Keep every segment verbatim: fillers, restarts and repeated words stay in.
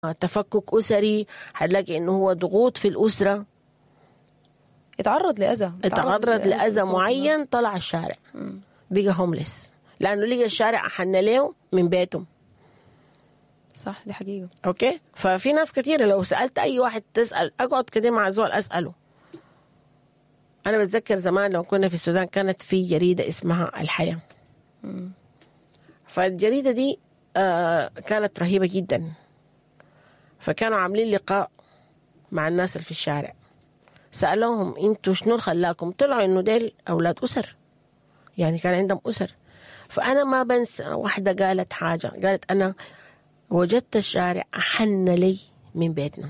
تفكك أسري، حتلاقي إنه هو ضغوط في الأسرة، اتعرض لأذى، اتعرض لأذى معين، طلع الشارع بقى homeless لأنه لقى الشارع أحن له من بيتهم. صح، دي حقيقة. okay، ففي ناس كثيرة لو سألت أي واحد، تسأل، أقعد كده مع زول أسأله. أنا بتذكر زمان لو كنا في السودان كانت في جريدة اسمها الحياة. فالجريدة دي آه كانت رهيبة جدا، فكانوا عاملين لقاء مع الناس اللي في الشارع، سألوهم انتوا شنو اللي خلاكم؟ طلعوا انه ديل اولاد اسر، يعني كان عندهم اسر. فانا ما بنسى واحدة قالت حاجه، قالت انا وجدت الشارع احن لي من بيتنا.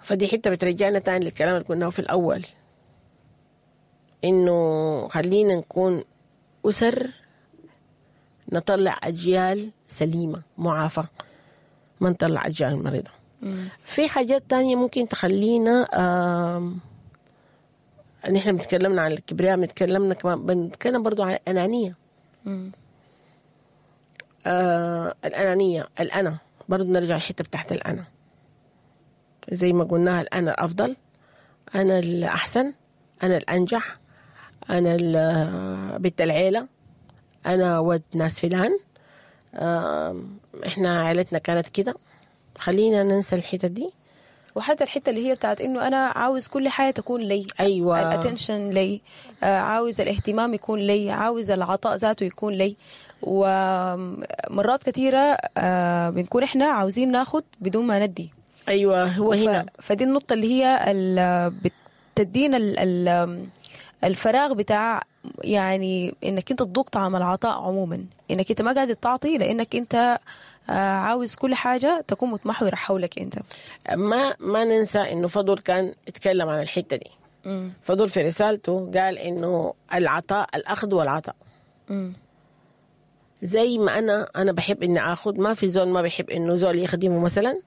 فدي حتة بترجعنا تاني للكلام اللي قلناه في الاول، انه خلينا نكون اسر نطلع اجيال سليمة معافى، ما نطلع اجيال مريضه. في حاجات تانية ممكن تخلينا آم، نحن بنتكلمنا عن الكبرياء، بنتكلمنا كمان بنتكلم برضو عن الأنانية. آه الأنانية، الأنا، برضو نرجع الحتة بتاعت الأنا، زي ما قلناها الأنا الأفضل، أنا الأحسن، أنا الأنجح، أنا ال- بنت العيلة، أنا ود ناس فلان، آم، إحنا عائلتنا كانت كده. خلينا ننسى الحتة دي. وحتى الحتة اللي هي بتاعت انه انا عاوز كل حاجة تكون لي، أيوة. ال attention لي، آه، عاوز الاهتمام يكون لي، عاوز العطاء ذاته يكون لي. ومرات كثيرة آه، بنكون احنا عاوزين ناخد بدون ما ندي. أيوة، هو ف... هنا فدي النقطة اللي هي ال... بتدينا ال... ال... الفراغ بتاع يعني انك انت تذوق طعم العطاء عموما، انك انت ما قادر تعطي لانك انت آه، عاوز كل حاجة تكون متمحورة حولك انت. ما ما ننسى انه فضل كان اتكلم عن الحتة دي. فضل في رسالته قال انه العطاء، الاخذ والعطاء. زي ما انا انا بحب اني اخذ، ما في زول ما بيحب انه زول يخدمه مثلا،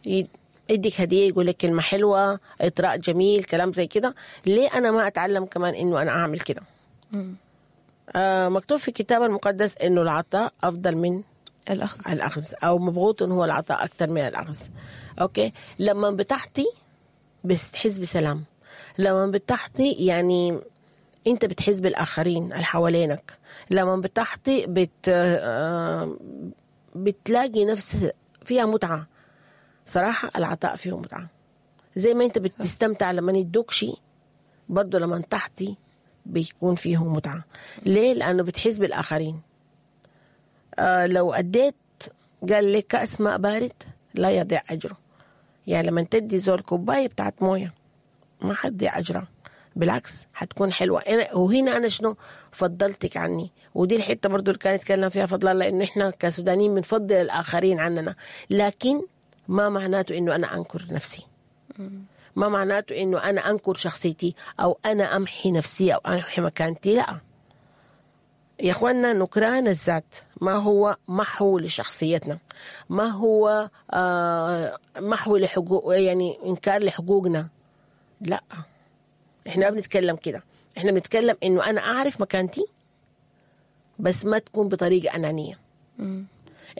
ي- يديك هديه، يقول لك كلمة حلوة، اطراء جميل، كلام زي كده. ليه انا ما اتعلم كمان انه انا اعمل كده؟ آه مكتوب في الكتاب المقدس انه العطاء افضل من الاخذ. الاخذ، او مبغوط هو العطاء اكثر من الاخذ. okay، لما بتعطي بتحس بسلام، لما بتعطي يعني انت بتحس بالاخرين اللي حوالينك، لما بتعطي بت آه، بتلاقي نفس فيها متعه. صراحة العطاء فيه متعه، زي ما انت بتستمتع لما يدوك شيء، برضه لما تعطي بيكون فيه متعه. ليه؟ لانه بتحس بالاخرين. آه لو أديت، قال لك كأس ماء بارد لا يضيع أجره. يعني لما تدي زول كوباية بتاعت موية ما حتضيع أجرها، بالعكس حتكون حلوة. أنا- وهنا أنا شنو فضلتك عني، ودي الحتة برضو اللي كان يتكلم فيها فضل الله، إنه إحنا كسودانيين بنفضل الآخرين عننا، لكن ما معناته إنه أنا أنكر نفسي، ما معناته إنه أنا أنكر شخصيتي أو أنا أمحي نفسي أو أمحي مكانتي. لا يا اخوانا، نكران الذات ما هو محو لشخصيتنا، ما هو آه محو لحقوق، يعني انكار لحقوقنا. لا، احنا ما بنتكلم كده، احنا بنتكلم انه انا اعرف مكانتي بس ما تكون بطريقة انانية.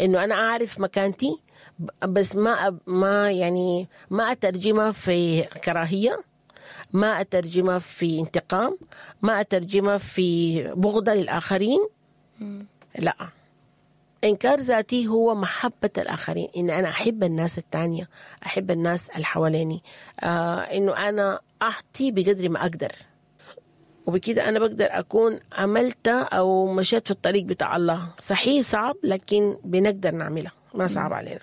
انه انا اعرف مكانتي ب- بس ما أب- ما يعني ما اترجمها في كراهية، ما اترجمها في انتقام، ما اترجمها في بغضه للاخرين. لا، انكار ذاتي هو محبة الاخرين، ان انا احب الناس التانية، احب الناس اللي حواليني، آه انه انا اعطي بقدر ما اقدر، وبكده انا بقدر اكون عملت او مشيت في الطريق بتاع الله. صحيح صعب، لكن بنقدر نعملها، ما صعب علينا.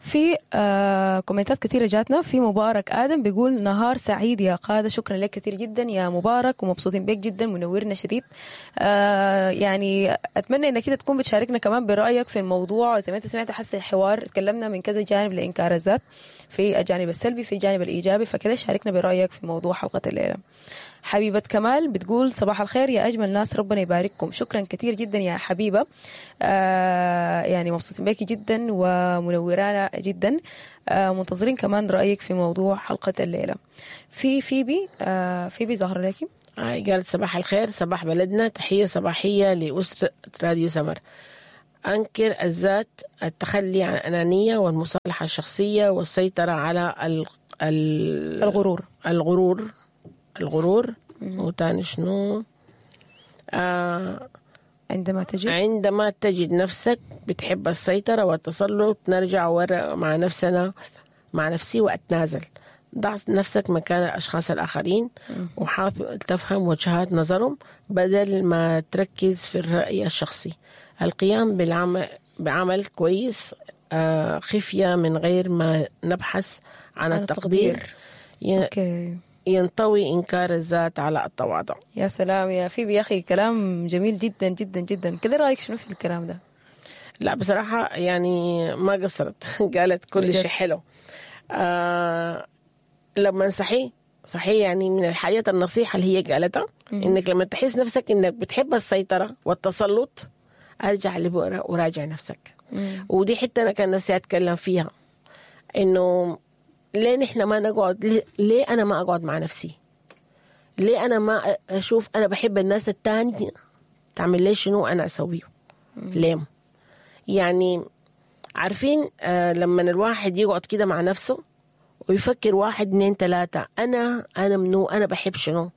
في آه كومنتات كثيرة جاتنا. في مبارك آدم بيقول نهار سعيد يا قادة. شكرا لك كثير جدا يا مبارك، ومبسوطين بك جدا، منورنا شديد. آه يعني أتمنى إنك كده تكون بتشاركنا كمان برأيك في الموضوع. زي ما أنت سمعت حس الحوار تكلمنا من كذا جانب لإنكار الذات، في الجانب السلبي، في الجانب الإيجابي، فكده شاركنا برأيك في موضوع حلقة الليلة. حبيبة كمال بتقول صباح الخير يا أجمل ناس، ربنا يبارككم. شكرا كثير جدا يا حبيبة، آه يعني مبسوطين بك جدا ومنورانا جدا. آه منتظرين كمان رأيك في موضوع حلقة الليلة. في فيبي، آه فيبي ظهر لك. آه، قالت صباح الخير، صباح بلدنا، تحية صباحية لأسرة راديو سمر. أنكر الذات، التخلي عن الأنانية والمصالحة الشخصية والسيطرة على ال... ال... الغرور. الغرور الغرور وتاني شنو؟ آه عندما تجد عندما تجد نفسك بتحب السيطرة والتسلط، نرجع ورا مع نفسنا مع نفسي وأتنازل. ضع نفسك مكان الأشخاص الآخرين وحاول تفهم وجهات نظرهم بدل ما تركز في الرأي الشخصي. القيام بالعمل بعمل كويس آه، خفية من غير ما نبحث عن عن التقدير, التقدير. ي- okay ينطوي إنكار الذات على التواضع. يا سلام يا فيبي يا اخي، كلام جميل جدا جدا جدا. كده رايك شنو في الكلام ده؟ لا بصراحة يعني ما قصرت، قالت كل بجد. شيء حلو. آه لما صحي صحيح يعني من الحاجات النصيحة اللي هي قالتها إنك لما تحس نفسك إنك بتحب السيطرة والتسلط، أرجع لبؤرة وراجع نفسك. ودي حتة أنا كان نفسي أتكلم فيها، إنه ليه نحن ما نقعد، ليه, ليه أنا ما أقعد مع نفسي؟ ليه أنا ما أشوف أنا بحب الناس التانية تعمل لي شنو أنا أسويه؟ ليه؟ يعني عارفين آه لما الواحد يقعد كده مع نفسه ويفكر واحد اتنين تلاتة، أنا أنا منو، أنا بحب شنو،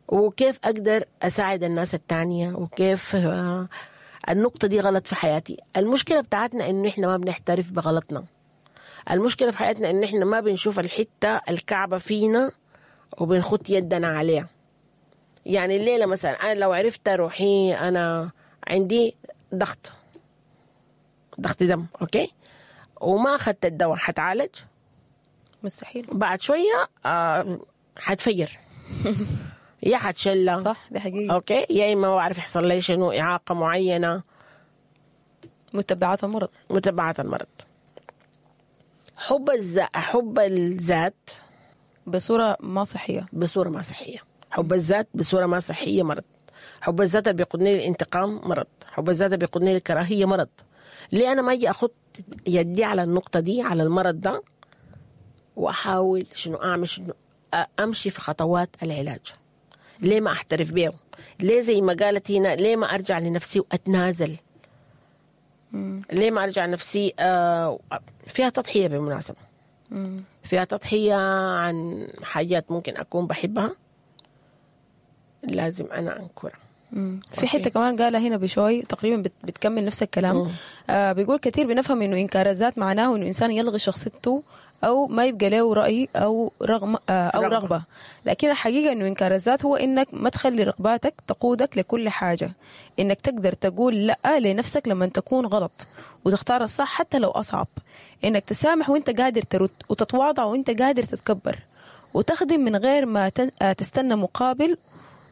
وكيف أقدر أساعد الناس التانية، وكيف آه النقطة دي غلط في حياتي. المشكلة بتاعتنا إنه إحنا ما بنحترف بغلطنا. المشكلة في حياتنا إنه إحنا ما بنشوف الحتة الكعبة فينا وبنخط يدنا عليها. يعني الليلة مثلا أنا لو عرفت روحي أنا عندي ضغط ضغط دم، okay، وما أخذت الدواء حتعالج؟ مستحيل. بعد شوية آه حتفجر يا حتشلة، صح، دي حقيقة. okay، يا إما ما بعرف يحصل لي شنو، إعاقة معينة، متبعات المرض. متبعات المرض. حب الذات، حب الذات بصورة ما صحية، بصورة ما صحية. حب الذات بصورة ما صحية مرض. حب الذات اللي بيقودني للانتقام مرض. حب الذات اللي بيقودني للكراهية مرض. ليه أنا ما أجي أخط يدي على النقطة دي، على المرض ده، وأحاول شنو أعمل، شنو أمشي في خطوات العلاج؟ ليه ما أحترف بيه؟ ليه زي ما قالت هنا، ليه ما أرجع لنفسي وأتنازل؟ مم. ليه ما أرجع نفسي؟ آه فيها تضحية بالمناسبة، مم. فيها تضحية عن حاجات ممكن أكون بحبها لازم أنا أنكرها. مم. في حتة كمان قالها هنا بشوي تقريبا بت- بتكمل نفس الكلام. آه بيقول كثير بنفهم انه انكار الذات معناه انه انسان يلغي شخصيته او ما يبقى له راي او رغم آه او رغبة. رغبة. رغبة، لكن الحقيقة انه انكار الذات هو انك ما تخلي رغباتك تقودك لكل حاجة، انك تقدر تقول لا لنفسك لما تكون غلط وتختار الصح حتى لو اصعب، انك تسامح وانت قادر ترد، وتتواضع وانت قادر تتكبر، وتخدم من غير ما تن- آه، تستنى مقابل،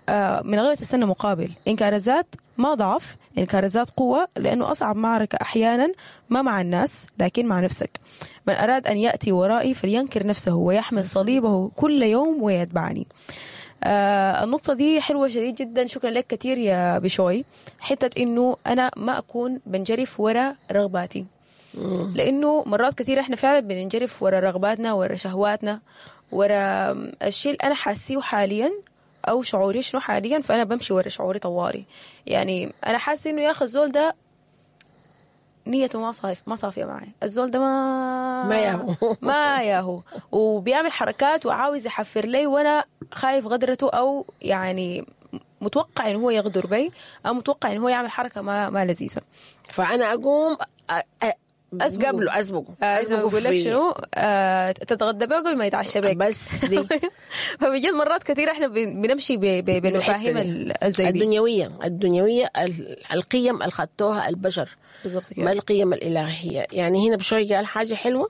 آه، من غير ما تستنى مقابل. إنكار الذات ما ضعف، إنكار الذات قوة، لأنه أصعب معركة أحيانا ما مع الناس لكن مع نفسك. من أراد أن يأتي ورائي فلينكر نفسه ويحمل صليبه كل يوم ويتبعني. آه النقطة دي حلوة شديد جدا، شكرا لك كثير يا بشوي. حتة إنه أنا ما أكون بنجرف ورا رغباتي، لانه مرات كثير احنا فعلا بننجرف ورا رغباتنا، ورا شهواتنا، ورا الشيء اللي انا حاسيه حاليا او شعوري شنو حاليا، فانا بمشي ورا شعوري طوالي. يعني انا حاسه انه يا اخي الزول ده نيته ما صاف ما صافية معي، الزول ده ما ما ياهو. ما ياهو، وبيعمل حركات وعاوز يحفر لي، وانا خايف غدرته، او يعني متوقع انه هو يغدر بي، او متوقع انه هو يعمل حركة ما ما لذيذة. فأنا أقوم أ- أ- أسبقه. قبله أسبقه آه، زي ما بقول لك في- شنو، آه تتغدى بيه قبل ما يتعشى بك. بس دي فبجد مرات كثير احنا بن- بنمشي ب- ب- بالمفاهيم الحتة دي. ال- الزي دي. الدنيوية الدنيوية ال- القيم اللي خدتوها البشر، بالضبط ما كده. القيم الإلهية. يعني هنا بشوي قال حاجة حلوة،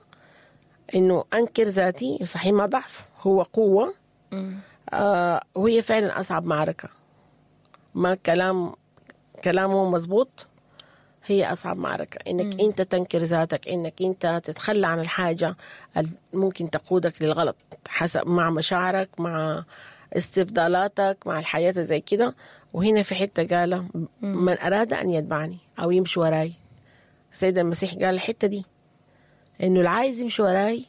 إنه أنكر ذاتي صحيح ما ضعف، هو قوة. آه وهي فعلا أصعب معركة. ما كلام كلامه مزبوط، هي أصعب معركة إنك مم. أنت تنكر ذاتك، إنك أنت تتخلى عن الحاجة اللي ممكن تقودك للغلط حسب مع مشاعرك، مع استفضالاتك، مع الحياة زي كده. وهنا في حتة قال من أراد أن يتبعني أو يمشي وراي، السيد المسيح قال الحتة دي إنه اللي عايز يمشي وراي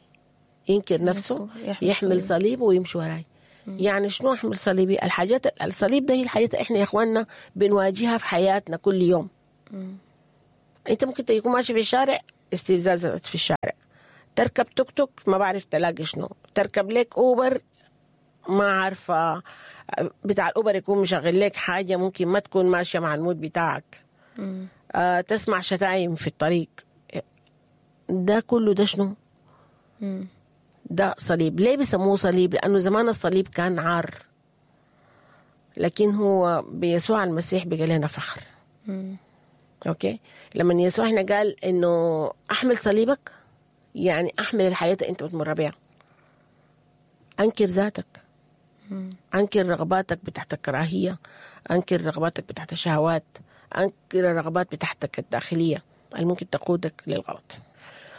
ينكر نفسه، يحمل يحمل صليبه ويمشي وراي. يعني شنو احمل صليبي؟ الحاجات الصليب ده هي الحاجات احنا يا اخواننا بنواجهها في حياتنا كل يوم. انت ممكن تكون ماشي في الشارع، استفزاز في الشارع، تركب توك توك ما بعرف تلاقي شنو، تركب لك اوبر ما عارفه بتاع الاوبر يكون مشغل لك حاجة ممكن ما تكون ماشية مع ال mood بتاعك. آه تسمع شتايم في الطريق. ده كله ده شنو؟ ده صليب. ليه بيسموه صليب؟ لأنه زمان الصليب كان عار، لكن هو بيسوع المسيح بقى لنا فخر. مم. okay، لما يسوع هنا قال إنه أحمل صليبك، يعني أحمل الحياة اللي أنت بتمر بيها، أنكر ذاتك، مم. أنكر رغباتك بتاعت الكراهية، أنكر رغباتك بتاعت الشهوات، أنكر الرغبات بتاعتك الداخلية اللي ممكن تقودك للغلط.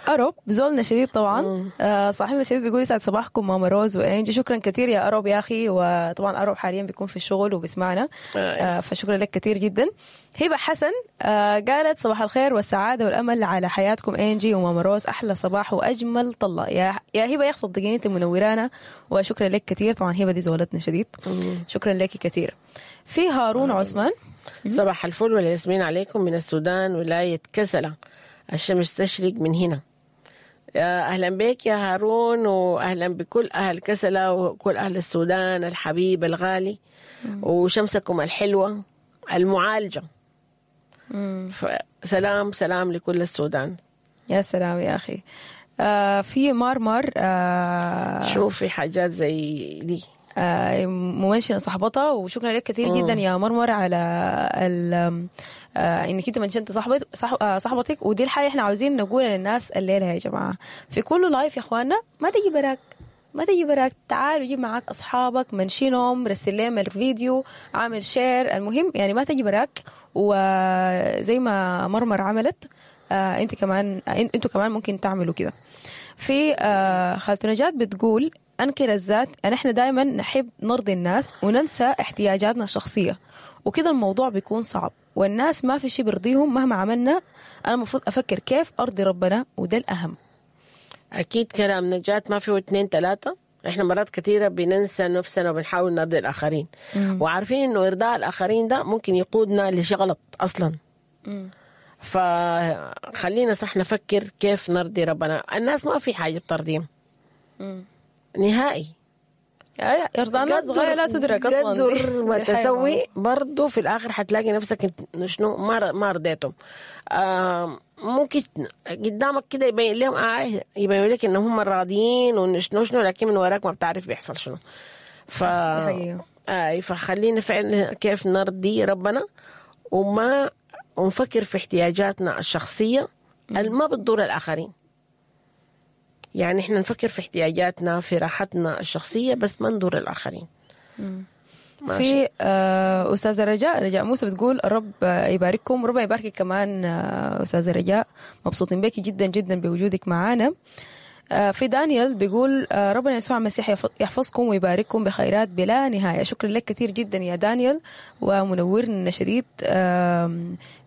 أروب زولنا شديد طبعا، آه صاحبنا شديد بيقول يسعد صباحكم ماما روز وإنجي. شكرا كثير يا أروب يا أخي، وطبعا أروب حاليا بيكون في الشغل وبيسمعنا، آه فشكرا لك كثير جدا. هبة حسن آه قالت صباح الخير والسعادة والأمل على حياتكم إنجي وماما روز، أحلى صباح وأجمل طلة يا يا هبة يا أخي، صدقيني أنت منورانا وشكرا لك كثير. طبعا هبة دي زولتنا شديد، شكرا لك كثير. في هارون عثمان، صباح الفل والياسمين عليكم من السودان ولاية كسلة، الشمس تشرق من هنا. أهلا بك يا هارون، وأهلا بكل أهل كسلة وكل أهل السودان الحبيب الغالي، وشمسكم الحلوة المعالجة. سلام سلام لكل السودان. يا سلام يا أخي. آه في مارمر آه شوفي حاجات زي دي آه ممنشنة صاحبتها، وشكرا لك كثير جدا يا مرمر على آه انك انت منشنت صاحبت صاحبتك. ودي الحاجة احنا عاوزين نقولها للناس الليلة يا جماعة في كل live يا اخواننا، ما تجي براك، ما تجي براك، تعال وجيب معاك اصحابك، منشنهم، رسل لهم الفيديو، عامل share، المهم يعني ما تجي براك. وزي ما مرمر عملت آه انت كمان، انتوا كمان ممكن تعملوا كده. في آه خالتو نجاة بتقول أنكر الذات، أن إحنا دائما نحب نرضي الناس وننسى احتياجاتنا الشخصية، وكده الموضوع بيكون صعب، والناس ما في شيء بيرضيهم مهما عملنا. أنا المفروض أفكر كيف أرضي ربنا، وده الأهم. أكيد كلام نجاة ما فيه اثنين ثلاثة. إحنا مرات كثيرة بننسى نفسنا وبنحاول نرضي الآخرين، مم. وعارفين إنه إرضاء الآخرين ده ممكن يقودنا لشيء غلط أصلا. مم. فخلينا صح نفكر كيف نرضي ربنا. الناس ما في حاجة بترضيهم نهائي، إرضاء الناس غاية لا تدرك أصلاً. قدر ما تسوي برضو في الآخر حتلاقي نفسك شنو ما ما رضيتهم. آه ممكن قدامك كده يبين لهم آه يبين لك إن هم راضيين وشنو شنو، لكن من وراك ما بتعرف بيحصل شنو. ف آه فخلينا فعلا كيف نرضي ربنا، وما ونفكر في احتياجاتنا الشخصية اللي ما بتضر الآخرين. يعني إحنا نفكر في احتياجاتنا في راحتنا الشخصية بس ما نضر الآخرين. في آه أستاذة رجاء، رجاء موسى بتقول الرب يبارككم، ربنا يباركك كمان آه أستاذة رجاء، مبسوطين بك جدا جدا بوجودك معانا. آه في دانيال بيقول آه ربنا يسوع المسيح يحفظكم ويبارككم بخيرات بلا نهاية. شكرا لك كثير جدا يا دانيال، ومنورنا شديد آه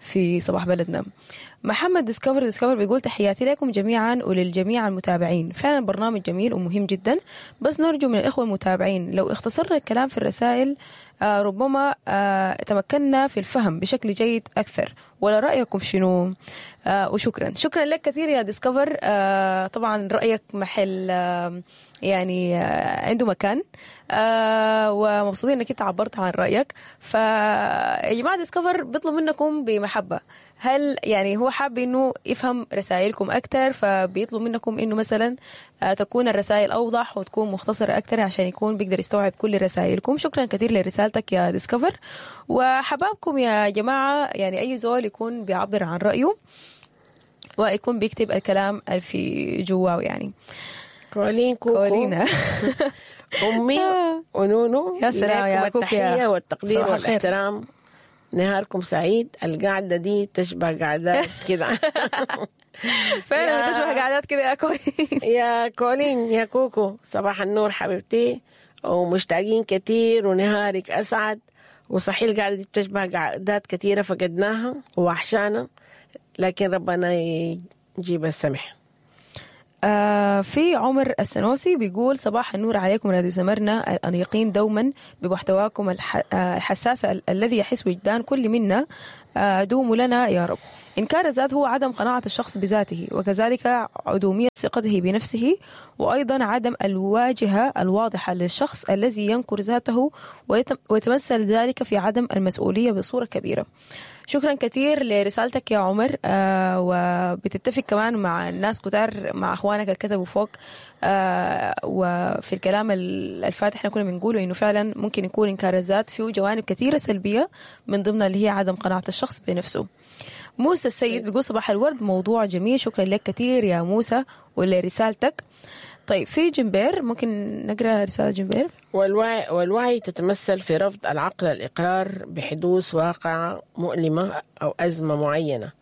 في صباح بلدنا. محمد ديسكفر ديسكفر بيقول تحياتي لكم جميعا وللجميع المتابعين، فعلا برنامج جميل ومهم جدا، بس نرجو من الإخوة المتابعين لو اختصرنا الكلام في الرسائل آه ربما آه تمكنا في الفهم بشكل جيد أكثر، ولا رأيكم شنو؟ آه وشكرا شكرا لك كثير يا ديسكفر. آه طبعا رأيك محل آه يعني آه عنده مكان، آه ومبسوطين انك انت عبرت عن رأيك. فيا جماعة ديسكفر بيطلب منكم بمحبة، هل يعني هو حاب انه يفهم رسائلكم اكثر، فبيطلب منكم انه مثلا تكون الرسائل اوضح وتكون مختصرة اكثر عشان يكون بيقدر يستوعب كل رسائلكم. شكرا كثير لرسالتك يا ديسكفر. وحبابكم يا جماعة، يعني اي زول يكون بيعبر عن رأيه ويكون بيكتب الكلام اللي في جواه. يعني كولين كوكو كولينا أمي ونونو، يا سلام يا كوكو، التحية والتقدير والاحترام، نهاركم سعيد. القعدة دي تشبه قعدات كده فعلا بتشبه قعدات كده يا كولين. يا كولين يا كوكو، صباح النور حبيبتي، ومشتاقين كتير، ونهارك أسعد. وصحيح القعدة دي بتشبه قعدات كتيرة فقدناها ووحشانا، لكن ربنا يجيب السمح. آه في عمر السنوسي بيقول صباح النور عليكم راديو سمرنا الأنيقين دوما بمحتواكم الح... آه الحساس ال- الذي يحس وجدان كل منا، آه دوموا لنا يا رب. إنكار الذات هو عدم قناعة الشخص بذاته، وكذلك عدومية ثقته بنفسه، وأيضا عدم الواجهة الواضحة للشخص الذي ينكر ذاته، ويتم- ويتمثل ذلك في عدم المسؤولية بصورة كبيرة. شكرا كثير لرسالتك يا عمر، آه وبتتفق كمان مع الناس كتار، مع اخوانك اللي كتبوا فوق، آه وفي الكلام ال- الفاتح احنا كنا بنقوله انه فعلا ممكن يكون انكار الذات فيه جوانب كثيرة سلبية، من ضمنها اللي هي عدم قناعة الشخص بنفسه. موسى السيد بيقول صباح الورد، موضوع جميل، شكرا لك كثير يا موسى ولرسالتك. طيب في جنبير، ممكن نقرا رسالة جنبير؟ والوعي, والوعي تتمثل في رفض العقل الإقرار بحدوث واقعة مؤلمة أو أزمة معينة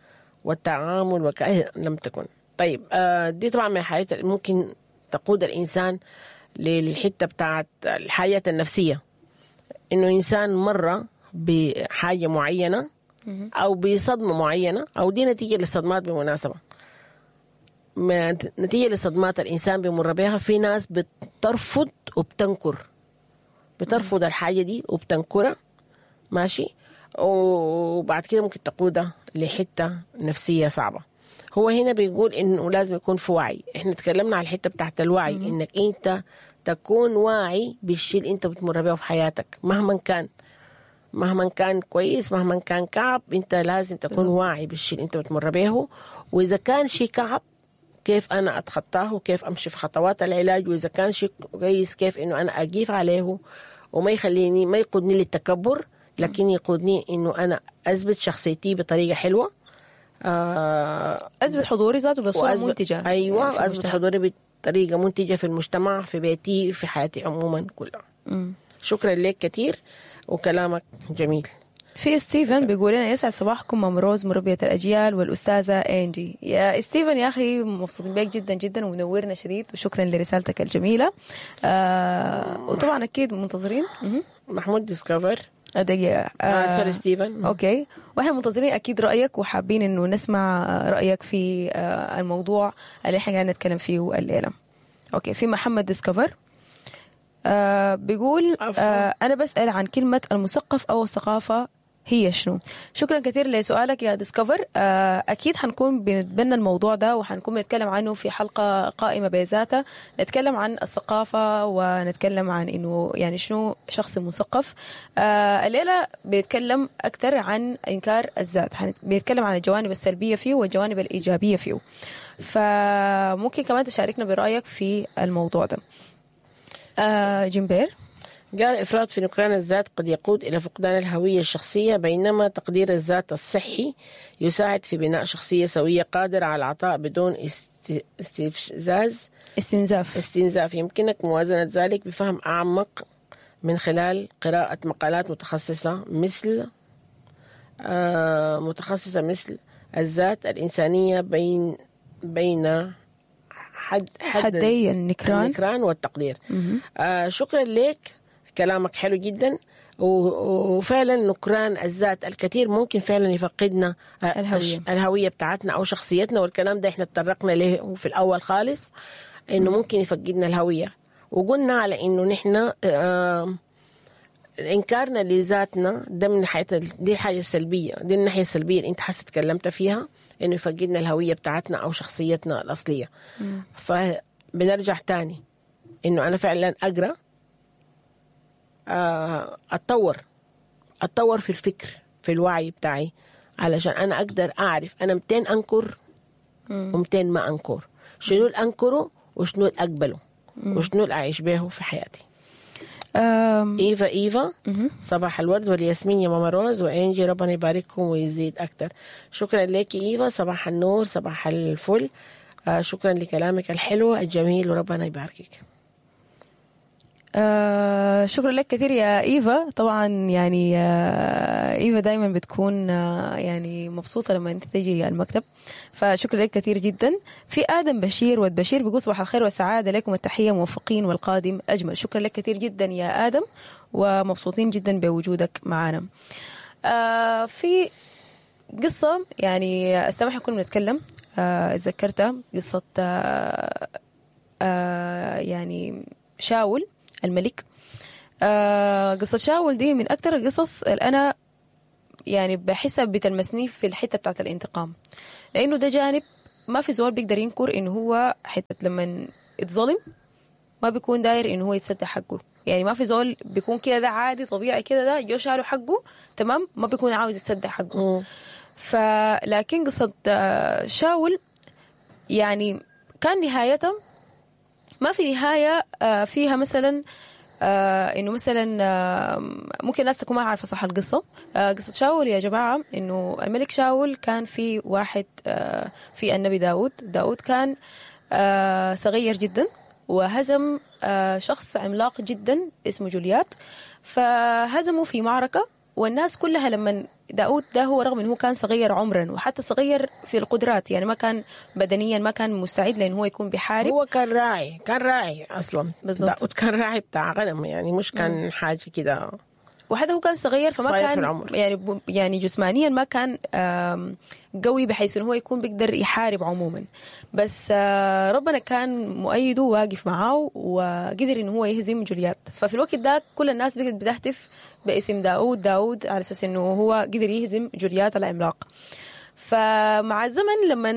والتعامل وكأن لم تكن. طيب آه، دي طبعا من الحاجات اللي ممكن تقود الإنسان للحتة بتاعت الحياة النفسية، إنه إنسان مر بحاجة معينة أو بصدمة معينة، أو دي نتيجة للصدمات بالمناسبة، ما- نتيجة لصدمات الإنسان بيمر بها. في ناس بترفض وبتنكر، بترفض الحاجة دي وبتنكرها، ماشي، وبعد كده ممكن تقودها لحتة نفسية صعبة. هو هنا بيقول إنه لازم يكون في وعي. إحنا تكلمنا على الحتة بتاعت الوعي، إنك أنت تكون واعي بالشيء اللي أنت بتمر بيه في حياتك، مهما كان، مهما كان كويس مهما كان كعب، انت لازم تكون واعي بالشيء اللي انت بتمر به. واذا كان شيء كعب كيف انا اتخطاه، وكيف امشي في خطوات العلاج، واذا كان شيء كويس كيف انه انا اقيف عليه وما يخليني، ما يقودني للتكبر، لكن يقودني انه انا اثبت شخصيتي بطريقة حلوة، آه اثبت حضوري ذاته بصورة وأثبت- منتجه. ايوه، يعني في واثبت المجتمع. حضوري بطريقة منتجه في المجتمع، في بيتي، في حياتي عموما كلها. مم. شكرا لك كثير وكلامك جميل. في ستيفن بيقول لنا يسعد صباحكم مام روز مربية الأجيال والأستاذة إنجي. يا ستيفن يا أخي مبسوطين بيك جدا جدا ومنورنا شديد، وشكرا لرسالتك الجميلة. آه وطبعا أكيد منتظرين. مهم. محمود ديسكفر. دقيقة. آه آه sorry ستيفن. okay، واحنا منتظرين اكيد رايك، وحابين انه نسمع رايك في آه، الموضوع اللي احنا قاعدين نتكلم فيه الليلة. okay، في محمد ديسكفر آه بيقول عفوا. آه انا بسال عن كلمة المثقف او الثقافة هي شنو؟ شكرا كثير لسؤالك يا ديسكفر. آه اكيد حنكون بنتبنى الموضوع ده، وحنكون بنتكلم عنه في حلقة قائمة بذاتها، نتكلم عن الثقافة ونتكلم عن انه يعني شنو شخص مثقف. آه الليلة بنتكلم اكثر عن انكار الذات، حن- بنتكلم عن الجوانب السلبية فيه والجوانب الايجابية فيه. فممكن كمان تشاركنا برايك في الموضوع ده. آه جيمبير قال إفراط في نكران الذات قد يقود إلى فقدان الهوية الشخصية، بينما تقدير الذات الصحي يساعد في بناء شخصية سوية قادرة على العطاء بدون است- استفزاز استنزاف. استنزاف. يمكنك موازنة ذلك بفهم أعمق من خلال قراءة مقالات متخصصة مثل آه، متخصصة مثل الذات الإنسانية بين بين حد حد حدي النكران. النكران والتقدير. آه شكرا لك، كلامك حلو جدا، و- وفعلا نكران الذات الكثير ممكن فعلا يفقدنا آه، الهوية. الش- الهوية بتاعتنا أو شخصيتنا، والكلام ده احنا تطرقنا له في الأول خالص، إنه ممكن يفقدنا الهوية، وقلنا على إنه نحن آه انكارنا لذاتنا ده من ناحية دي الحاجة السلبية، دي الناحية السلبية اللي انت حاسه تكلمت فيها، انه يفقدنا الهوية بتاعتنا او شخصيتنا الاصلية. فبنرجع تاني انه انا فعلا اقرا، آه، اتطور اتطور في الفكر، في الوعي بتاعي، علشان انا اقدر اعرف انا متين انكر ومتين ما انكر، شنو اللي انكره وشنو اللي اقبله وشنو اللي اعيش به في حياتي. أم، ايفا ايفا صباح الورد والياسمين يا ماما روز وانجي، ربنا يبارككم ويزيد اكتر. شكرا لك ايفا، صباح النور صباح الفل. آه شكرا لكلامك الحلو الجميل وربنا يباركك. آه شكرا لك كثير يا ايفا. طبعا يعني آه ايفا دايما بتكون آه يعني مبسوطة لما انت تجي المكتب، فشكرا لك كثير جدا. في ادم بشير ود بشير بيقول صباح الخير والسعادة لكم التحية، موفقين والقادم اجمل. شكرا لك كثير جدا يا ادم، ومبسوطين جدا بوجودك معنا. آه في قصة يعني أستمح كنا بنتكلم، آه، اتذكرتها قصة آه، آه، يعني شاول الملك. آه، قصة شاول دي من أكثر القصص اللي أنا يعني بحسها بتلمسني في الحتة بتاعت الانتقام، لأنه ده جانب ما في زول بيقدر ينكر إنه هو حتة لما اتظلم ما بيكون داير إنه هو يتسدى حقه. يعني ما في زول بيكون كده، ده عادي طبيعي كده، ده جو شالوا حقه تمام، ما بيكون عاوز يتسدى حقه. فلكن قصة شاول يعني كان نهايتها ما في نهاية فيها مثلا إنه مثلا ممكن الناس تكون ما عارفة صح القصة. قصة شاول يا جماعة إنه الملك شاول كان في واحد في النبي داود. داود كان صغير جدا وهزم شخص عملاق جدا اسمه جوليات، فهزمه في معركة. والناس كلها لما داود ده هو رغم انه هو كان صغير عمرا وحتى صغير في القدرات، يعني ما كان بدنيا ما كان مستعد لأنه هو يكون بيحارب، هو كان راعي، كان راعي اصلا بالضبط. داود كان راعي بتاع غنم، يعني مش كان م. حاجة كده، وحتى هو كان صغير فما كان يعني يعني جسمانيا ما كان قوي بحيث انه هو يكون بيقدر يحارب عموما، بس ربنا كان مؤيدة واقف معاه وقدر انه هو يهزم جوليات. ففي الوقت ده كل الناس بقت بتهتف باسم داود داود على اساس انه هو قدر يهزم جوليات العملاق. فمع الزمن لما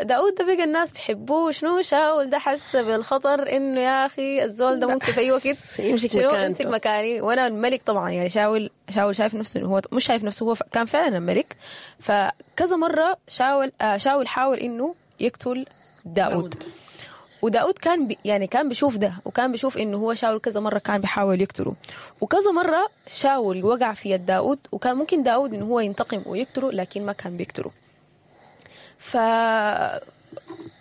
داود ده بقى الناس بيحبوه، شنو شاول ده حس بالخطر انه يا اخي الزول ده ممكن في اي وقت يمسك مكانته، يمسك مكاني وانا الملك. طبعا يعني شاول شاول شايف نفسه انه هو مش شايف نفسه، هو كان فعلا الملك. فكذا مرة شاول شاول حاول انه يقتل داود، وداود كان بي يعني كان بيشوف ده، وكان بيشوف انه هو شاول كذا مرة كان بيحاول يقتله، وكذا مرة شاول وقع في يد داود، وكان ممكن داود انه هو ينتقم ويقتله لكن ما كان بيقتله. ف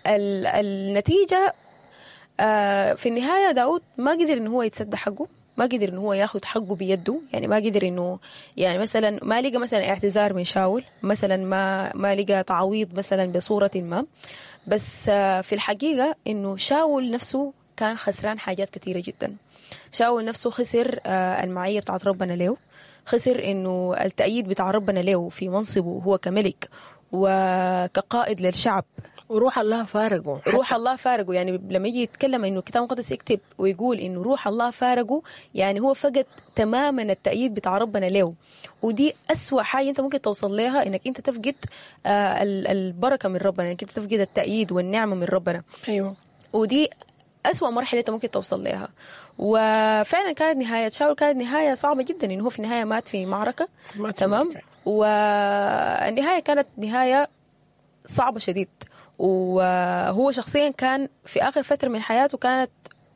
النتيجة في النهاية داود ما قدر انه هو يتسدى حقه، ما قدر انه هو ياخذ حقه بيده، يعني ما قدر انه يعني مثلا ما لقى مثلا اعتذار من شاول، مثلا ما ما لقى تعويض مثلا بصورة ما. بس في الحقيقة انه شاول نفسه كان خسران حاجات كثيرة جدا. شاول نفسه خسر المعية بتاعت ربنا له، خسر انه التأييد بتاع ربنا له في منصبه هو كملك وكقائد للشعب، وروح الله فارقه. روح الله فارقه، يعني لما يجي يتكلم انه الكتاب المقدس يكتب ويقول انه روح الله فارقه، يعني هو فقد تماما التأييد بتاع ربنا له. ودي أسوأ حاجة انت ممكن توصل لها، انك انت تفقد البركة من ربنا، انك انت تفقد التأييد والنعمة من ربنا. ايوه، ودي أسوأ مرحلة انت ممكن توصل لها. وفعلا كانت نهاية شاول كانت نهاية صعبة جدا، انه هو في النهاية مات في معركة، تمام، والنهاية كانت نهاية صعبة شديد. وهو شخصيا كان في آخر فترة من حياته كانت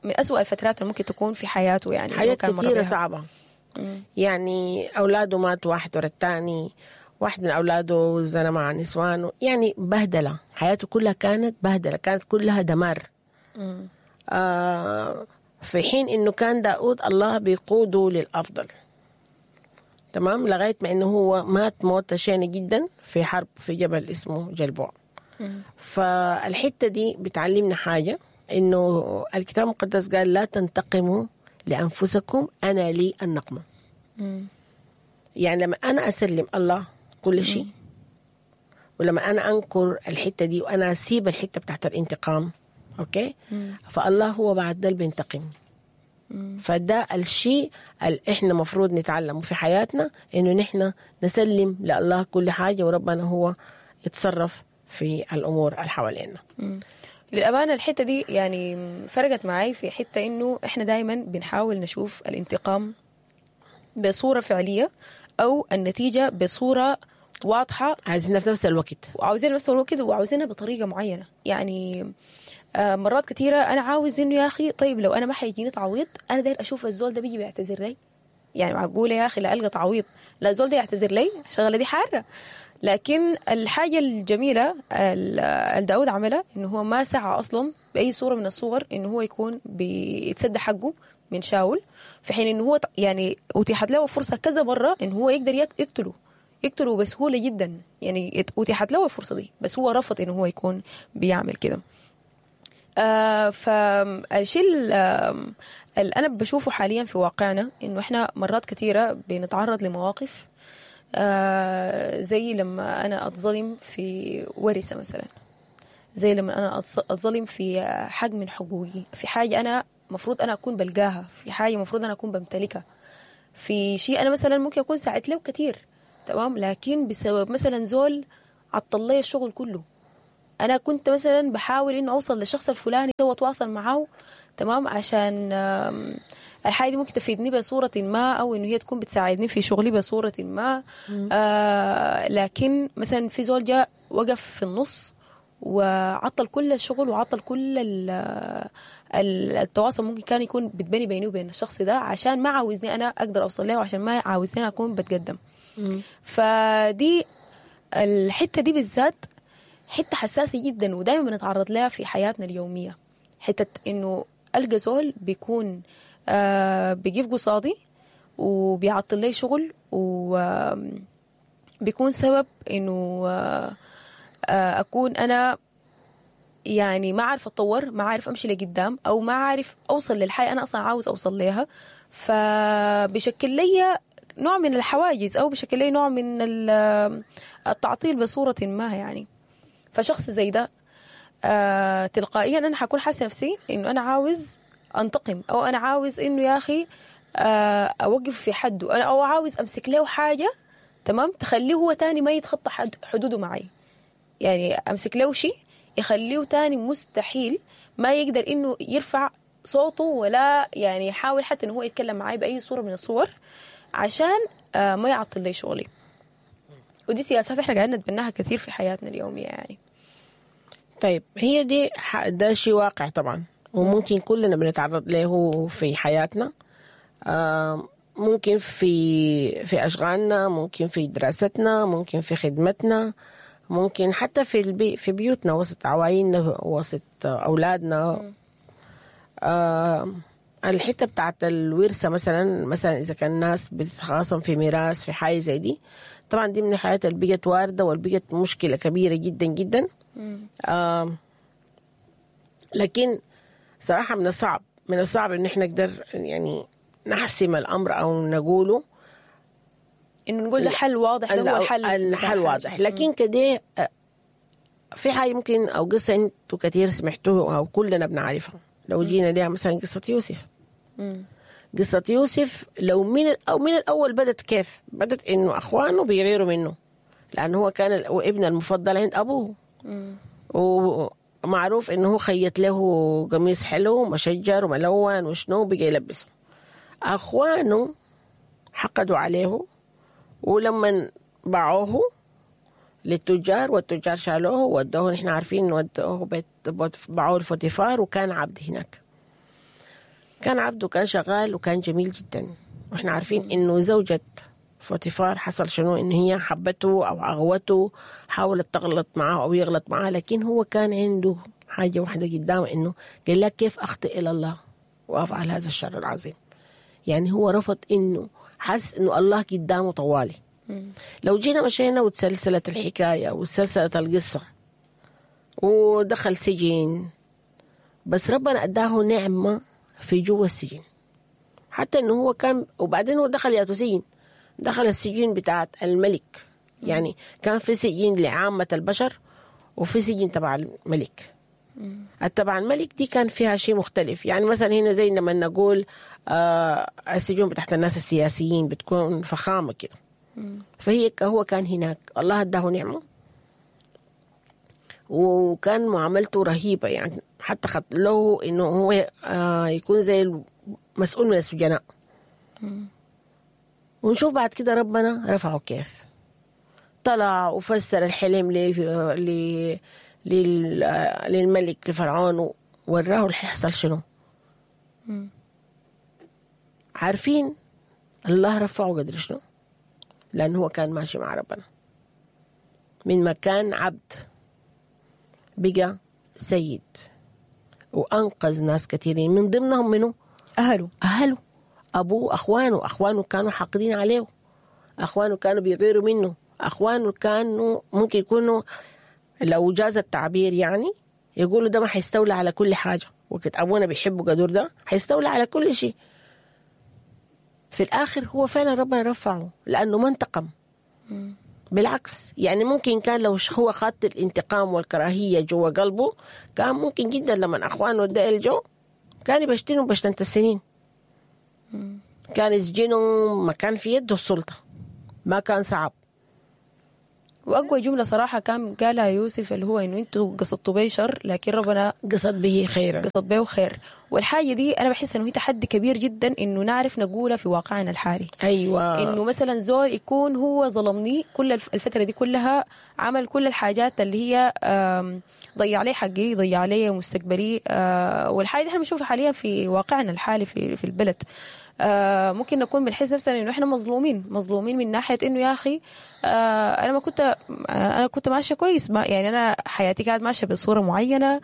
من أسوأ الفترات اللي ممكن تكون في حياته، يعني حاجات كثيرة صعبة. مم. يعني أولاده ماتوا واحد ورا الثاني، واحد من أولاده زنا مع نسوانه، يعني بهدلة، حياته كلها كانت بهدلة، كانت كلها دمار. مم. آه في حين إنه كان داود الله بيقوده للأفضل، تمام، لغاية ما إنه هو مات موتة شينة جدا في حرب في جبل اسمه جلبوع. فالحتة دي بتعلمنا حاجة، إنه الكتاب المقدس قال لا تنتقموا لأنفسكم، أنا لي النقمة. مم. يعني لما أنا أسلم الله كل شيء، ولما أنا أنكر الحتة دي وأنا أسيب الحتة بتاعت الانتقام، أوكي؟ مم. فالله هو بعد ده بينتقم. مم. فده الشيء اللي إحنا مفروض نتعلمه في حياتنا، إنه نحن نسلم لله كل حاجة وربنا هو يتصرف في الأمور اللي حوالينا. للأمانة الحتة دي يعني فرقت معي في حتة إنه إحنا دايما بنحاول نشوف الانتقام بصورة فعلية أو النتيجة بصورة واضحة، عايزينها في نفس الوقت، وعاوزينها في نفس الوقت، وعاوزينها بطريقة معينة. يعني مرات كثيرة أنا عاوز إنه يا أخي طيب لو أنا ما حيجيني تعويض، أنا داير أشوف الزول ده بيجي بيعتذر لي، يعني معقولة يا أخي لا ألقى تعويض، لا الزول ده يعتذر لي، الشغلة دي حارة. لكن الحاجة الجميلة اللي داود عملها إنه هو ما سعى أصلا بأي صورة من الصور إنه هو يكون بيتسدى حقه من شاول، في حين إنه هو يعني أتيحت له فرصة كذا مرة إنه هو يقدر يقتله يقتله بسهولة جدا، يعني أتيحت له الفرصة دي، بس هو رفض إنه هو يكون بيعمل كده. آه فالشيء اللي أنا بشوفه حاليا في واقعنا إنه إحنا مرات كثيرة بنتعرض لمواقف آه زي لما أنا أتظلم في ورثة مثلا، زي لما أنا أتظلم في حق من حقوقي، في حاجة أنا مفروض أنا أكون بلقاها، في حاجة مفروض أنا أكون بمتلكها، في شيء أنا مثلا ممكن أكون ساعدت له كتير، تمام، لكن بسبب مثلا زول عطل لي الشغل كله. أنا كنت مثلا بحاول إنه أوصل للشخص الفلاني ده وأتواصل معه، تمام، عشان الحاجة دي ممكن تفيدني بصورة ما، أو إنه هي تكون بتساعدني في شغلي بصورة ما. آه لكن مثلا في زول جاء وقف في النص وعطل كل الشغل وعطل كل التواصل ممكن كان يكون بتبني بيني وبين الشخص ده، عشان ما عاوزني أنا أقدر أوصل له، وعشان ما عاوزني أكون بتقدم. مم. فدي الحتة دي بالذات حتة حساسة جدا، ودائما بنتعرض لها في حياتنا اليومية. حتة إنه ألقى زول بيكون آه بيجيب قصادي وبيعطل لي شغل، وبيكون سبب إنه آه أكون أنا يعني ما عارف أتطور، ما عارف أمشي لقدام، أو ما عارف أوصل للحياة أنا أصلا عاوز أوصل لها. فبشكل لي نوع من الحواجز، أو بشكل لي نوع من التعطيل بصورة ما يعني. فشخص زي ده آه تلقائيا أنا حكون حاسة نفسي إنه أنا عاوز أنتقم، أو أنا عاوز إنه يا أخي آه أوقف في حده، أنا أو عاوز أمسك له حاجة، تمام، تخليه هو تاني ما يتخطى حدوده معي. يعني أمسك له شيء يخليه تاني مستحيل ما يقدر إنه يرفع صوته، ولا يعني يحاول حتى إنه هو يتكلم معي بأي صورة من الصور، عشان آه ما يعطل لي شغلي. ودي سياسات إحنا قاعدين نتبناها كثير في حياتنا اليومية يعني. طيب هي دي ده شيء واقع طبعا، وممكن كلنا بنتعرض له في حياتنا، آه ممكن في في أشغالنا، ممكن في دراستنا، ممكن في خدمتنا، ممكن حتى في البي في بيوتنا، وسط عوائلنا، وسط أولادنا. آه الحتة بتاعت الورثة مثلا، مثلا إذا كان الناس بتتخاصم في ميراث في حاجة زي دي، طبعا دي من الحاجات اللي بقت واردة واللي بقت مشكلة كبيرة جدا جدا. آه لكن صراحة من الصعب من الصعب إن إحنا نقدر يعني نحسم الأمر أو نقوله إنه نقول ده حل واضح، ده هو الحل، الحل واضح. لكن كده في حاجة ممكن أو قصة أنتوا كتير سمعتوها أو كلنا بنعرفها، لو جينا ليها مثلا قصة يوسف. مم. قصة يوسف لو من أو من الأول بدت كيف؟ بدت إنه أخوانه بيغيروا منه، لأنه هو كان ابن المفضل عند أبوه. مم. ومعروف إنه هو خيط له قميص حلو مشجر وملون وشنو بقى يلبسه. أخوانه حقدوا عليه، ولما باعوه للتجار والتجار شالوه ودوه، نحن عارفين إنه ودوه بيت باعوه لفوتيفار، وكان عبد هناك. كان عبد وكان شغال وكان جميل جدا، واحنا عارفين إنه زوجة فوتيفار حصل شنو، إن هي حبته أو أغوته، حاولت تغلط معه أو يغلط معه، لكن هو كان عنده حاجة واحدة قدامه، إنه قال لها كيف أخطئ إلى الله وأفعل هذا الشر العظيم. يعني هو رفض، إنه حس إنه الله قدامه طوالي. لو جينا مشينا وتسلسلت الحكاية وتسلسلت القصة ودخل سجن، بس ربنا أداه نعمة في جوا السجن، حتى إنه هو كان، وبعدين هو دخل ياتو سجن، دخل السجن بتاعت الملك. يعني كان في سجن لعامة البشر وفي سجن تبع الملك. تبع الملك دي كان فيها شيء مختلف. يعني مثلا هنا زي لما نقول آه السجون بتاعت الناس السياسيين بتكون فخامة كده، فهي هو كان هناك الله اداه نعمة، وكان معاملته رهيبة. يعني حتى خط له إنه هو آه يكون زي المسؤول من السجناء. ونشوف بعد كده ربنا رفعه كيف، طلع وفسر الحلم ل للملك لفرعون، ووراه اللي حيحصل شنو. عارفين الله رفعه قدر شنو؟ لأنه هو كان ماشي مع ربنا من مكان عبد بقى سيد، وأنقذ ناس كثيرين من ضمنهم منه أهله، أهله أبوه، أخوانه. أخوانه كانوا حاقدين عليه، أخوانه كانوا بيغيروا منه، أخوانه كانوا ممكن يكونوا لو جاز التعبير يعني يقولوا ده ما حيستولى على كل حاجة، وقت أبونا بيحبه قدر ده حيستولى على كل شيء. في الآخر هو فعلا ربنا رفعه لأنه ما انتقم. بالعكس، يعني ممكن كان لو هو خط الانتقام والكراهية جوا قلبه كان ممكن جدا لما أخوانه ديل جو كان يبشتنوا بشتنة السنين، كان يسجنوا، ما كان في يده السلطة، ما كان صعب. وأقوى جملة صراحة كان قالها يوسف اللي هو إنه أنتوا قصدتوا بي شر لكن ربنا قصد به خيرا، قصد به خير. والحاجة دي أنا بحس إنه هي تحدي كبير جدا إنه نعرف نقولها في واقعنا الحالي. أيوة، إنه مثلا زول يكون هو ظلمني كل الفترة دي كلها، عمل كل الحاجات اللي هي ضيع لي حقي، ضيع لي مستقبلي، والحاجة دي احنا بنشوفها حاليا في واقعنا الحالي في في البلد. ممكن نكون بنحس نفسنا إنه إحنا مظلومين، مظلومين من ناحية إنه يا أخي أنا ما كنت أنا كنت ماشية كويس، ما يعني أنا حياتي كانت ماشية بصورة معينة،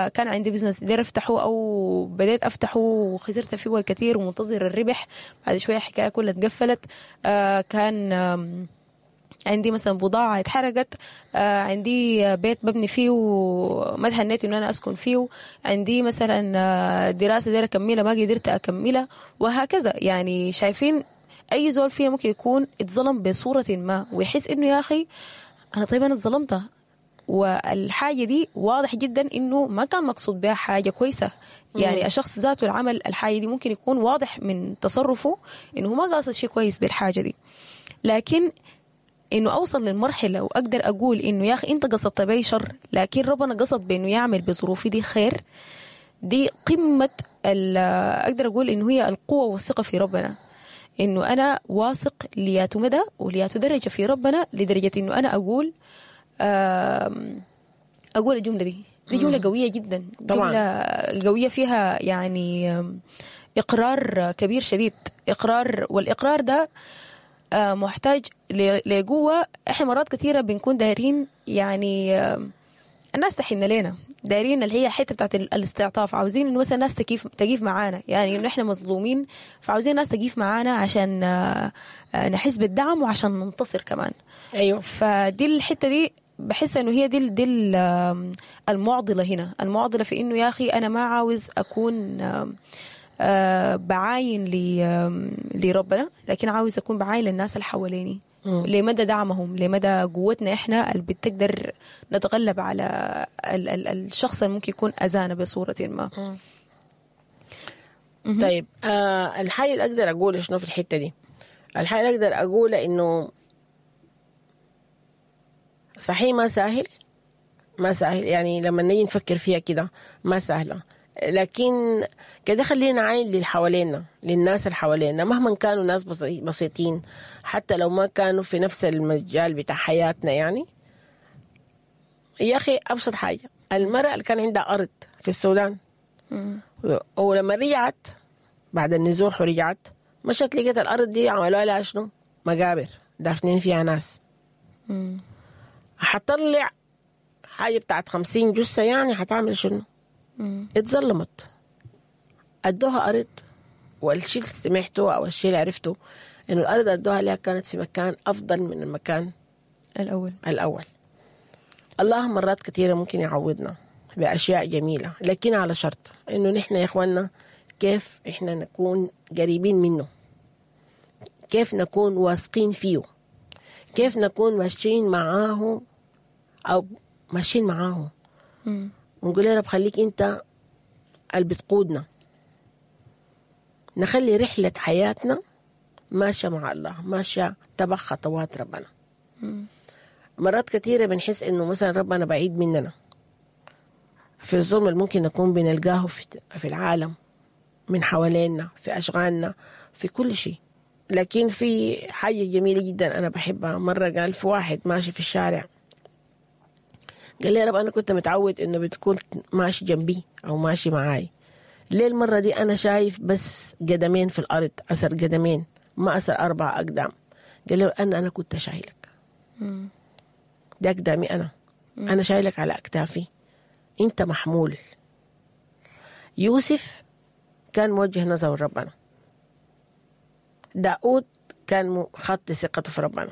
كان عندي business داير أفتحه أو بديت أفتحه وخسرت فيه الكثير ومنتظر الربح، بعد شوية الحكاية كلها اتقفلت، كان عندي مثلا بضاعة اتحرقت، عندي بيت ببني فيه وما تهنيت إنه أنا أسكن فيه، عندي مثلا دراسة دايرة أكملها ما قدرت أكملها، وهكذا. يعني شايفين أي زول فينا ممكن يكون اتظلم بصورة ما ويحس إنه يا أخي أنا طيب أنا اتظلمت، والحاجة دي واضح جدا إنه ما كان مقصود بها حاجة كويسة. يعني الشخص ذاته العمل الحاجة دي ممكن يكون واضح من تصرفه إنه ما قاصد شيء كويس بالحاجة دي، لكن إنه أوصل للمرحلة وأقدر أقول إنه يا أخي أنت قصدت بي شر لكن ربنا قصد بإنه يعمل بظروفي دي خير، دي قمة أقدر أقول إنه هي القوة والثقة في ربنا، إنه أنا واثق لياتو مدى ولياتو درجة في ربنا، لدرجة إنه أنا أقول أقول الجملة دي. دي جملة قوية جدا، طبعا. جملة قوية فيها يعني إقرار كبير شديد، إقرار، والإقرار ده محتاج لقوة. إحنا مرات كثيرة بنكون دايرين يعني الناس تحن لنا، دايرين اللي هي حتة بتاعت الاستعطاف، عاوزين إنه مثلا الناس تكيف تقيف معانا، يعني إنه إحنا مظلومين فعاوزين الناس تقيف معانا عشان نحس بالدعم وعشان ننتصر كمان. أيوة. فدي الحتة دي بحس إنه هي دي دي المعضلة هنا، المعضلة في إنه يا أخي أنا ما عاوز أكون بعاين لربنا، لكن عاوز أكون بعاين للناس اللي حواليني، لمدى دعمهم، لمدى قوتنا إحنا اللي بتقدر نتغلب على ال ال الشخص اللي ممكن يكون أذانا بصورة ما. مم. طيب آه الحاجة اللي أقدر أقوله شنو في الحتة دي، الحاجة اللي أقدر أقوله إنه صحيح ما سهل، ما سهل، يعني لما نيجي نفكر فيها كده ما سهلة، لكن كده خلينا عين للي حوالينا، للناس اللي حوالينا، مهما كانوا ناس بسيطين، حتى لو ما كانوا في نفس المجال بتاع حياتنا. يعني يا أخي أبسط حاجة، المرأة اللي كان عندها أرض في السودان ولما رجعت بعد النزوح ورجعت مشت لقيت الأرض دي عملوها لها شنو؟ مقابر دافنين فيها ناس. حتطلع حاجة بتاعت خمسين جثة، يعني حتعمل شنو؟ اتظلمت، ادوها ارض. والشيء اللي سمعته او الشيء اللي عرفته انه الارض ادوها لها كانت في مكان افضل من المكان الاول الاول. الله مرات كثيرة ممكن يعوضنا باشياء جميلة، لكن على شرط انه نحن يا اخواننا كيف احنا نكون قريبين منه، كيف نكون واثقين فيه، كيف نكون ماشيين معاه او ماشيين معاه ونقول يا رب خليك انت اللي بتقودنا، نخلي رحلة حياتنا ماشية مع الله، ماشية تبع خطوات ربنا. مم. مرات كثيرة بنحس انه مثلا ربنا بعيد مننا في الظلم اللي ممكن نكون بنلقاه في في العالم من حوالينا، في أشغالنا، في كل شيء. لكن في حاجة جميلة جدا أنا بحبها. مرة قال في واحد ماشي في الشارع، قال لي يا رب أنا كنت متعود إنه بتكون ماشي جنبي أو ماشي معاي، ليه المرة دي أنا شايف بس قدمين في الأرض، أثر قدمين ما أثر أربع أقدام؟ قال له أنا أنا كنت شايلك، ده أقدامي أنا، مم. أنا شايلك على أكتافي، أنت محمول. يوسف كان موجه نظره لربنا، داود كان خط ثقته في ربنا.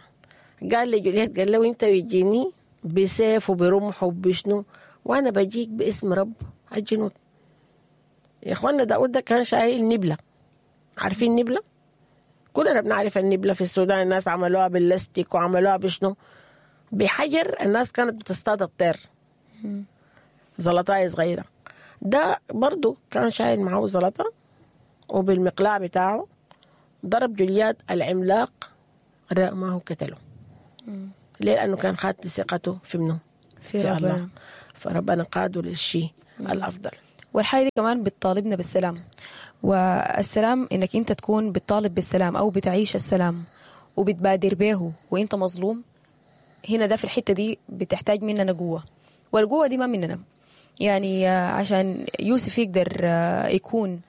قال لجوليت، قال له أنت بيجيني بسيف وبرمح وبشنو، وأنا بجيك باسم رب الجنود. يا إخواننا داود ده كان شايل نبلة، عارفين نبلة؟ كلنا بنعرف النبلة في السودان، الناس عملوها باللاستيك وعملوها بشنو، بحجر. الناس كانت بتصطاد الطير، زلطاية صغيرة. ده برضو كان شايل معه زلطة، وبالمقلاع بتاعه ضرب جوليات العملاق، رماه قتله. ليه؟ لأنه كان خات ثقته في منه؟ في, في ربنا. الله. فربنا قاده للشيء الأفضل. والحاجة دي كمان بتطالبنا بالسلام، والسلام إنك أنت تكون بتطالب بالسلام أو بتعيش السلام وبتبادر به وإنت مظلوم. هنا ده في الحتة دي بتحتاج مننا قوة، والقوة دي ما مننا. يعني عشان يوسف يقدر يكون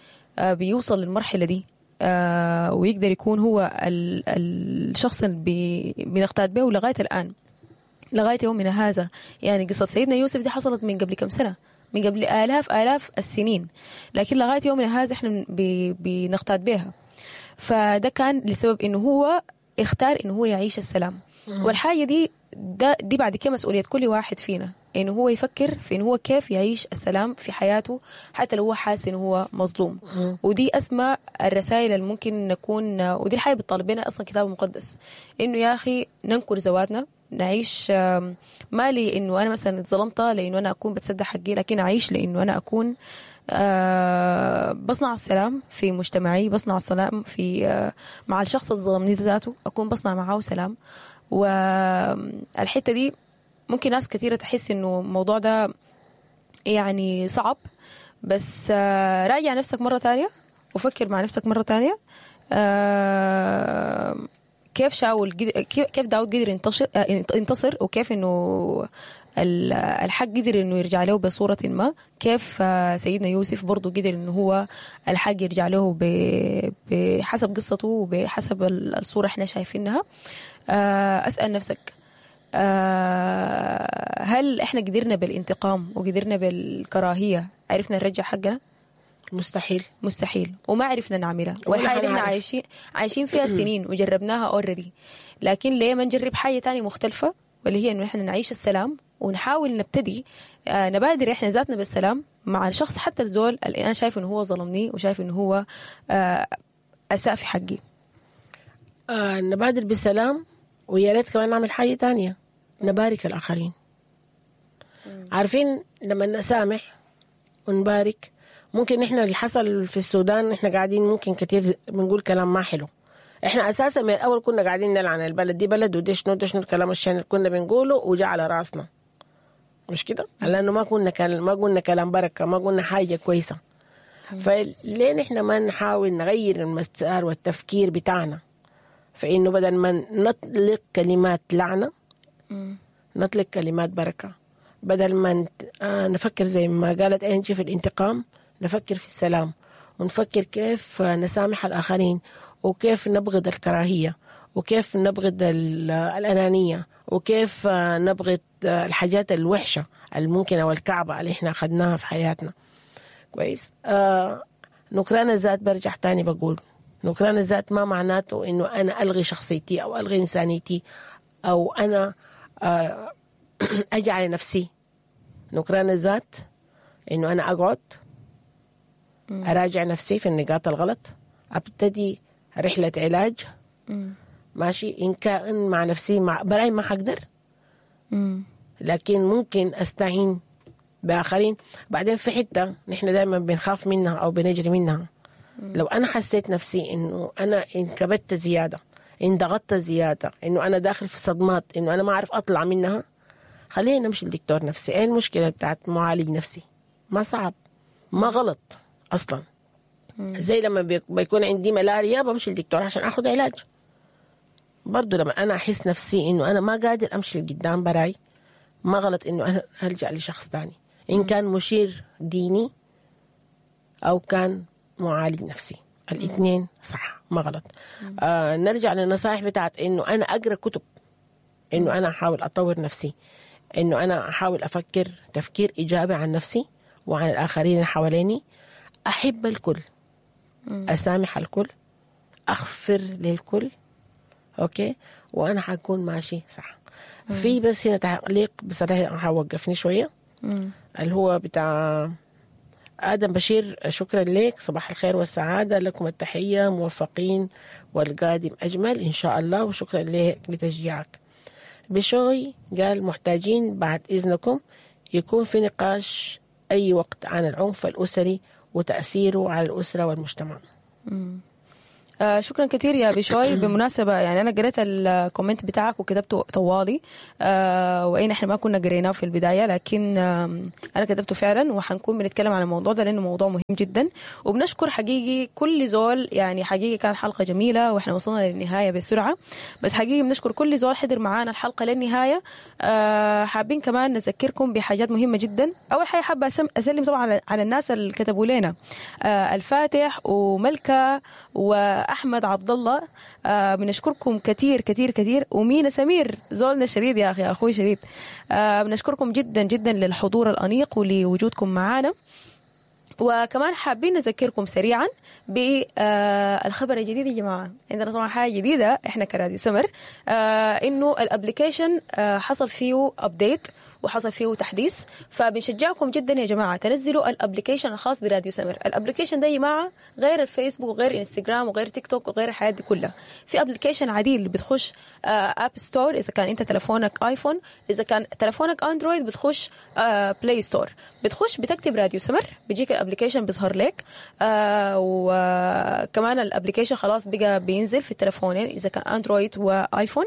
بيوصل للمرحلة دي ويقدر يكون هو الشخص اللي بنقتاد به لغاية الآن، لغاية يومنا هذا. يعني قصة سيدنا يوسف دي حصلت من قبل كم سنة، من قبل آلاف آلاف السنين، لكن لغاية يومنا هذا احنا بنقتاد بها. فده كان لسبب انه هو اختار انه هو يعيش السلام. والحاجة دي ده دي بعد كده مسؤولية كل واحد فينا، انه هو يفكر في انه هو كيف يعيش السلام في حياته حتى لو هو حاسس انه هو مظلوم. ودي اسمى الرسائل اللي ممكن نكون، ودي الحاجة بتطالب بنا اصلا الكتاب المقدس، انه يا اخي ننكر ذواتنا، نعيش ما لي انه انا مثلا اتظلمت لانه انا اكون بتصدق حقي، لكن اعيش لانه انا اكون بصنع السلام في مجتمعي، بصنع السلام في مع الشخص اللي ظلمني ذاته، اكون بصنع معاه سلام. والحتة دي ممكن ناس كثيرة تحس انه الموضوع ده يعني صعب، بس راجع نفسك مرة تانية وفكر مع نفسك مرة تانية كيف شاول كيف داود قدر ينتصر ينتصر وكيف انه الحق قدر انه يرجع له بصورة ما، كيف سيدنا يوسف برضو قدر انه هو الحق يرجع له بحسب قصته وبحسب الصورة احنا شايفينها. اسأل نفسك، هل احنا قدرنا بالانتقام وقدرنا بالكراهية عرفنا نرجع حقنا؟ مستحيل، مستحيل، وما عرفنا نعملها. والحاجة اللي احنا عايشين عايشين فيها سنين وجربناها already، لكن ليه ما نجرب حاجة تانية مختلفة، واللي هي انه احنا نعيش السلام ونحاول نبتدي آه نبادر احنا ذاتنا بالسلام مع الشخص، حتى الزول اللي انا شايف انه هو ظلمني وشايف انه هو آه اساء في حقي. آه نبادر بالسلام، ويا ريت كمان نعمل حاجة تانية، نبارك الآخرين. عارفين لما نسامح ونبارك، ممكن احنا اللي حصل في السودان احنا قاعدين ممكن كتير بنقول كلام ما حلو. احنا اساسا من الاول كنا قاعدين نلعن البلد دي، بلد ودي شنو دي شنو الكلام الشين اللي كنا بنقوله وجاء على راسنا، مش كده؟ لانه ما كنا كلام، ما قلنا كلام بركة، ما قلنا حاجة كويسة. فليه نحن ما نحاول نغير المسار والتفكير بتاعنا، فانه بدل ما نطلق كلمات لعنه نطلق كلمات بركة، بدل ما نفكر زي ما قالت انجي في الانتقام، نفكر في السلام، ونفكر كيف نسامح الآخرين، وكيف نبغض الكراهية، وكيف نبغض الأنانية، وكيف نبغض الحاجات الوحشة الممكنة والكعبة اللي احنا أخذناها في حياتنا. كويس. آه نكران الذات، برجع تاني بقول نكران الذات ما معناته إنه أنا ألغي شخصيتي أو ألغي إنسانيتي أو أنا آه أجعل نفسي. نكران الذات إنه أنا أقعد أراجع نفسي في النقاط الغلط، أبتدي رحلة علاج. مم. ماشي، إن كان مع نفسي مع براي ما حقدر، مم. لكن ممكن أستعين بآخرين. بعدين في حتة نحن دائما بنخاف منها أو بنجري منها. مم. لو أنا حسيت نفسي إنه أنا انكبت زيادة، انضغطت زيادة، إنه أنا داخل في صدمات، إنه أنا ما أعرف أطلع منها، خلينا نمشي للدكتور نفسي. إيه المشكلة بتاعت معالج نفسي؟ ما صعب، ما غلط أصلا. زي لما بيكون عندي ملاريا بمشي للدكتور عشان أخذ علاج. برضو لما أنا أحس نفسي إنه أنا ما قادر أمشي لقدام براي، ما غلط إنه أنا ألجأ لشخص تاني، إن كان مشير ديني أو كان معالج نفسي، الاثنين صح، ما غلط. آه نرجع للنصائح بتاعت إنه أنا أقرأ كتب، إنه أنا أحاول أطور نفسي، إنه أنا أحاول أفكر تفكير إيجابي عن نفسي وعن الآخرين اللي حواليني، أحب الكل، أسامح الكل، أغفر للكل، أوكي، وأنا حكون ماشي صح. مم. في بس هنا تعليق بصراحة حوقفني شوية، مم. اللي هو بتاع آدم بشير شكرا لك، صباح الخير والسعادة، لكم التحية، موفقين والقادم أجمل إن شاء الله، وشكرا لك لتشجيعك. بشوي قال محتاجين بعد إذنكم يكون في نقاش أي وقت عن العنف الأسري وتأثيره على الأسرة والمجتمع. آه شكرا كثير يا بشوي. بالمناسبة يعني أنا قريت ال comment بتاعك وكتبته طوالي، آه وإن إحنا ما كنا قريناه في البداية، لكن آه أنا كتبته فعلا، وحنكون بنتكلم عن الموضوع ده لأنه موضوع مهم جدا. وبنشكر حقيقي كل زول، يعني حقيقي كانت حلقة جميلة وإحنا وصلنا للنهاية بسرعة، بس حقيقي بنشكر كل زول حضر معانا الحلقة للنهاية. آه حابين كمان نذكركم بحاجات مهمة جدا. أول حاجة حابة أسلم طبعا على الناس اللي كتبوا لنا، آه الفاتح وملكة و أحمد عبد الله، آه بنشكركم كثير كثير كثير، ومينا سمير زولنا شديد يا أخي، أخوي شديد. آه بنشكركم جدا جدا للحضور الأنيق ولوجودكم معنا. وكمان حابين نذكركم سريعا بالخبر الجديد يا جماعة. عندنا طبعا حاجة جديدة احنا كراديو سمر، آه انه ال application آه حصل فيه update وحصل فيه تحديث، فبنشجعكم جدا يا جماعة تنزلوا ال application الخاص براديو سمر. ال application ده يا جماعة غير الفيسبوك وغير انستغرام وغير تيك توك وغير الحياة دي كلها، في application عديل بتخش App Store اذا كان انت تلفونك ايفون، اذا كان تلفونك اندرويد بتخش Play Store، بتخش بتكتب راديو سمر بيجيك ال application بيظهر لك. آه وكمان ال application خلاص بقى بينزل في التلفونين اذا كان اندرويد وايفون.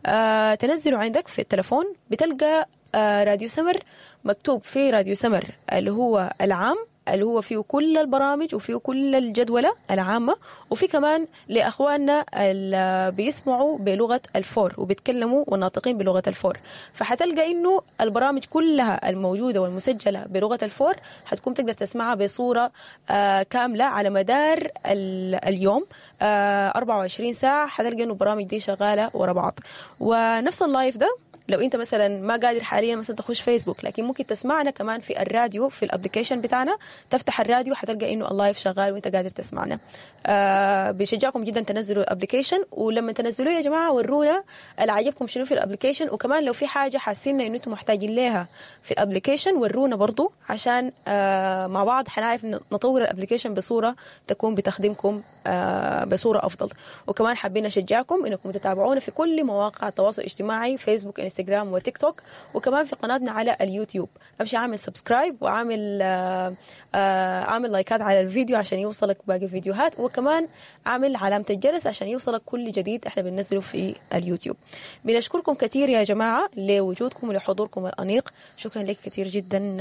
آه تنزله عندك في التلفون بتلقى آه راديو سمر مكتوب في راديو سمر اللي هو العام، اللي هو فيه كل البرامج وفيه كل الجدولة العامة، وفي كمان لأخواننا اللي بيسمعوا بلغة الفور وبيتكلموا والناطقين بلغة الفور، فحتلقى إنه البرامج كلها الموجودة والمسجلة بلغة الفور حتكون تقدر تسمعها بصورة آه كاملة على مدار اليوم آه أربعة وعشرين ساعة. حتلقى إنه البرامج دي شغالة ورا بعض. ونفس ال live ده لو انت مثلا ما قادر حاليا مثلا تخش فيسبوك، لكن ممكن تسمعنا كمان في الراديو في ال application بتاعنا، تفتح الراديو حتلقى انه ال live شغال وانت قادر تسمعنا. آه بشجعكم جدا تنزلوا ال application، ولما تنزلوه يا جماعة ورونا اللي عجبكم شنو في ال application، وكمان لو في حاجة حاسين انه انتم محتاجين لها في ال application ورونا برضو، عشان آه مع بعض حنعرف نطور ال application بصورة تكون بتخدمكم آه بصورة افضل. وكمان حابين نشجعكم انكم تتابعونا في كل مواقع التواصل الاجتماعي، فيسبوك، انستغرام وتيك توك، وكمان في قناتنا على اليوتيوب. امشي اعمل subscribe وعامل آه اعمل لايكات على الفيديو عشان يوصلك باقي الفيديوهات، وكمان اعمل علامة الجرس عشان يوصلك كل جديد احنا بننزله في اليوتيوب. بنشكركم كثير يا جماعة لوجودكم ولحضوركم الأنيق. شكرا لك كثير جدا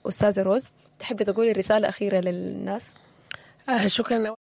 أستاذة روز. تحبي تقولي رسالة أخيرة للناس؟ آه شكرا.